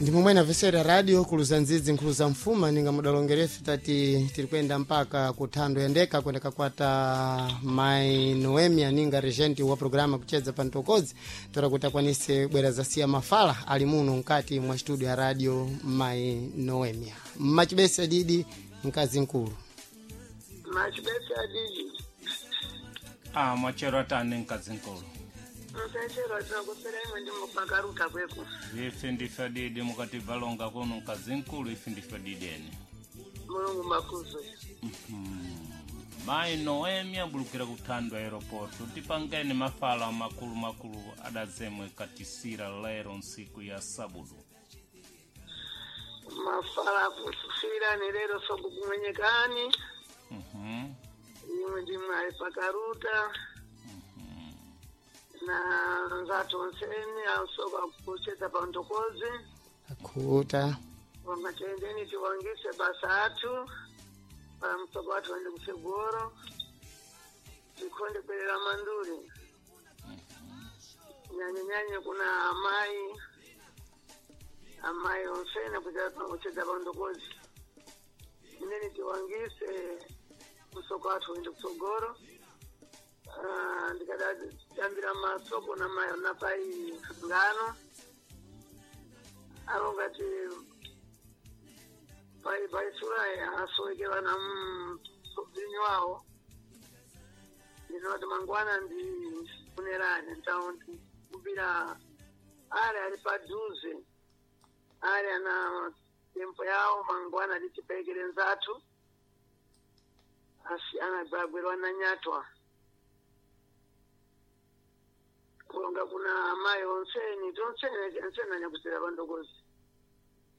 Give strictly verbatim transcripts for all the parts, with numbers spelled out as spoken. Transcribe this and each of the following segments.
Ndi momwe namvesera radio kuluza ndzidzi nkhuluza mfuma ninga mudalongerefe tati tiri kuyenda mpaka kuthando yendeka kwenda kakwata mai Noemia ninga regente wa programa kucheza pa ntokozi tora kuti akwanise bwera zasiya mafala ali muno mkati mwa studio ya radio mai Noemia mmachibesa didi mkazi mkulu. Machibesa adidi. Ah, mwachero atani mkazi nkulu. Msachero tinakupera imwe ndimo pakaruta kweku. Ife ndife didi mukativalonga kuno mkazi nkulu ife ndife dideni. Mulungu makuzwe. Mai Noemi abulukira kuthandwa aeroporto tipangeni mafala makulu makulu adazemwe katisira lero nsiku ya sabudu. Mafala kususirani lero sokukumenyekani. Mhm. Imwe ndimwe ali pakaruta. Na nzatu onseni ansoka kucheza pa ntokozi. Akhuta. Wangatendeni tiwangise basa athu. Pa msoko wathu wende kusegoro. Tikhonde kwerera manduli. Nyanye nyanye kuna amai. Amai onsene kucheza pa ntokozi. Ineni tiwangise msoko wathu wende kusogoro. Ah, ndikadambira masoko na mayo napai ngano avo ngati pai paisurayi asowekera na mvinyu wawo ndinoti mangwana ndi kunerani ntaundi kubira ali ali padhuze ali ana tempo yawo mangwana tichiperekere nzathu asi anagwagwerwa na nyatwa kulonga kuna amayi onseni tonseni onseni anyakusira pandokozi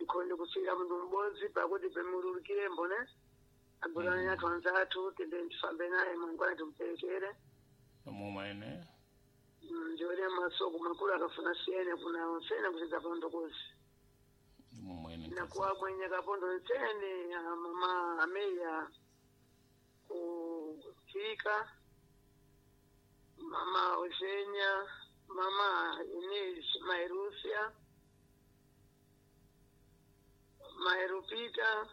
ikhonde kusira mundu m'bodzi pakuti pemululukirembo ne agulana nyathu anzathu tende tifambe naye mangwana timuperekere. Omwe ene. Ndione masoko makulu akafuna siyene kuna onseni akucheza pandokozi. Omwe ene. Nakuwa mwenye kapondo onseni ah, mama ameya kuchika mama Eugenia, mama Inês Mairúcia, Mairupita,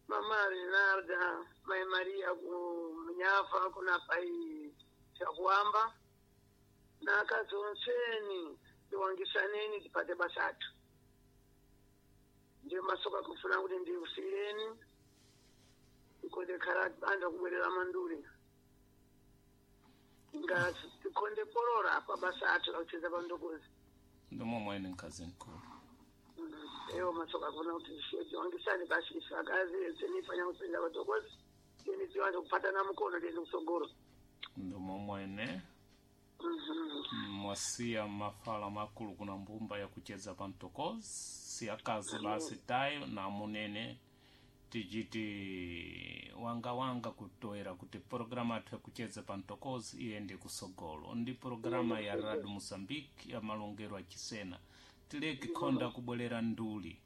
mama Renarda, Mai Maria kuMnyafa kuna pai Chakuamba na akazi onseni tiwangisaneni tipate basatu. Ndiyo masoka kufuna kuti ndiusireni ikonde khala anthu akubwerera manduli nga tikhonde porora pa basa athu akucheza pa ndokozi. Ndomwe ene mkazi nkulu. Ewo masoka akufuna kuti tiwangisane basi ife akazi senifanya kupinda patokozi tiyeni tiwanze kupatana mkono tiyende kusogolo. Ndomwe ene. Mwasiya mafala makulu kuna mbumba ya kucheza pa mtokozi si akazi basi tayo na munene tijiti wanga wanga kutoera kuti programa athu yakucheza pa mtokozi iyende kusogolo ndi programa ya radio Mozambique ya malongero achisena tileke khonda kubwerera nduli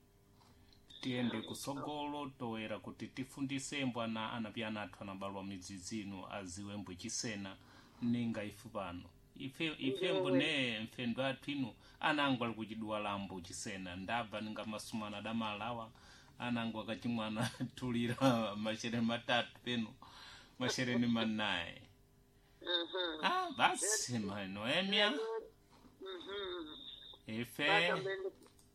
tiyende kusogolo toera kuti tifundise mbwana anapyana athu anabalwa midzidzi ino aziwe mbwe chisena ninga ifu pano ife ifembo ne mfendo athu ino anango ali kuchiduwa lambo chisena ndabva ninga masumana adamalawa anango akachimwana tulira mashereni matatu peno mashereni manaye. Ah, basi mai Noemia ife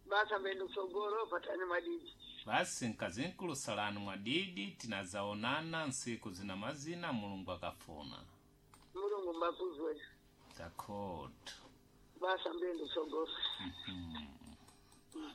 basa mbende kusogolo patani madidi. Basi nkazinkulu salani mwadidi tinazaonana nsiku zina mazina mulungu akafuna. Mulungu mbakuzwe. Takhota. Basa mbende kusogolo.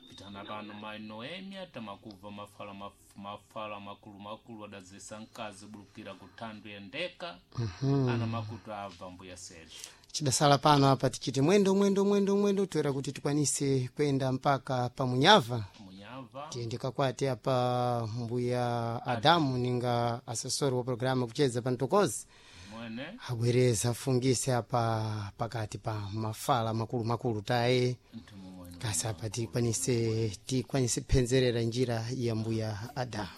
Pitana pano mai Noemia tamakuva mafala maf- mafala makulu makulu adazisa mkazi bulukira kuthandu yendeka ana makutu abva mbuya Sergio. Chidasala pano apa tichiti mwendo mwendo mwendo mwendo toera kuti tikwanise kwenda mpaka pa Munyava. Munyava. Tiyende kakwate apa mbuya Adamu ninga asesori wa programa kucheza pa ntokozi mwene abwereza afungise apa pakati pa mafala makulu makulu taye mtumu mwene kasi apa tikwanise tikwanise phenzerera njira ya mbuya Adamu.